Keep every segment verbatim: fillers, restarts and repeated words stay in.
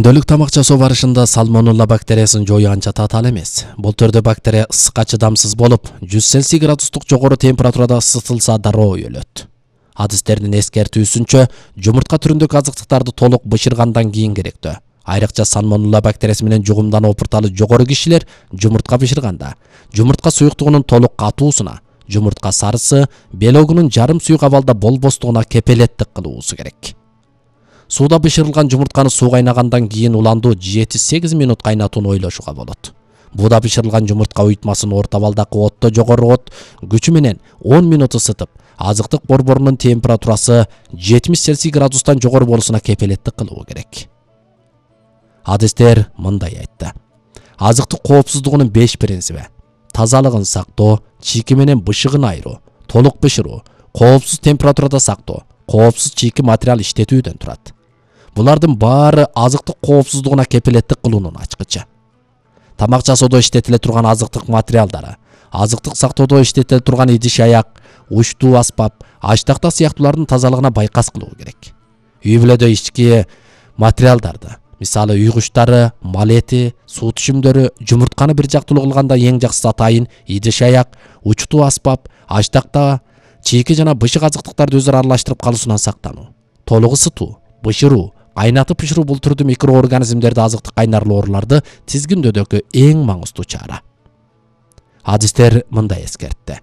Күндөлүк тамак жасоо барышында сальмонелла бактериясын жою анча татаал эмес. Бул түрдө бактерия ысыкка чыдамсыз болуп, жүз цельсий градустук жогору температурада ысытылса дароо өлөт. Адистердин эскертүүсүнчө, жумуртка түрүндөгү азыктыктарды толук бышыргандан кийин керектөө. Айрыкча сальмонелла бактериясы менен жугумдануу опурталы жогору кишилер жумуртка бышырганда, жумуртка суюктугунун толук катуусуна, жумуртка сарысы, белогунун жарым суюк абалда болбостугуна кепелеттик кылуусу керек. Сууда бышырылган жумуртканы суу кайнагандан кийин уландуу жети-сегиз минут кайнатууну ойлошуга болот. Бууда бышырылган жумуртка уютмасын орто абалдагы отто жогору от күчү менен он минут ысытып, азыктык борборунун температурасы жетимиш цельсий градустан жогору болушуна кепелеттик кылуу керек. Адистер мындай айтты. Азыктык коопсуздугунун беш принциби: тазалыгын сактоо, чийки менен бышыгын айыруу, толук бышыруу, коопсуз температурада сактоо, коопсуз чийки материал иштетүүдөн турат. Булардын баары азыктык коопсуздугуна кепелеттик кылуунун ачкычы. Тамак жасоодо иштетиле турган азыктык материалдары, азыктык сактоодо иштетиле турган идиш-аяк, учтуу аспап, аш-такта сыяктуулардын тазалыгына байкас кылуу керек. Үй бүлөдө ички материалдарды, мисалы үй куштары, мал эти, суу түшүмдөрү, жумуртканы бир жактылуу кылганда эң жакшысы атайын идиш-аяк, учтуу аспап, аш-такта, чийки жана бышык азыктыктарды өзара аралаштырып калуусунан сактануу. Толук ысытуу, бышыруу, кайнатып бышыруу бул түрдүү микроорганизмдерди азыктык кайнарлуу ооруларды тизгиндөөдөгү эң маңыздуу чара. Адистер мындай эскертти.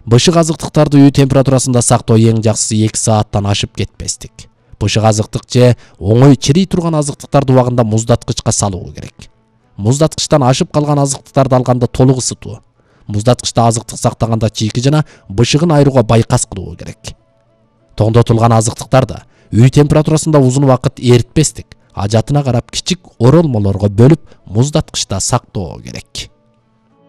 Бышык азыктыктарды үй температурасында сактоо эң жакшысы эки сааттан ашып кетпестик. Бышык азыктык же оңой чирей турган азыктыктарды убагында муздаткычка салуу керек. Муздаткычтан ашып калган азыктыктарды алганда толук ысытуу. Муздаткычта азыктык сактаганда чийки жана бышыгын айырууга байкас кылуу керек. Тоңдотулган азыктыктарды үй температурасында узун убакыт эритпестик, ажатына карап кичик оролмолорго бөлүп муздаткычта сактоо керек.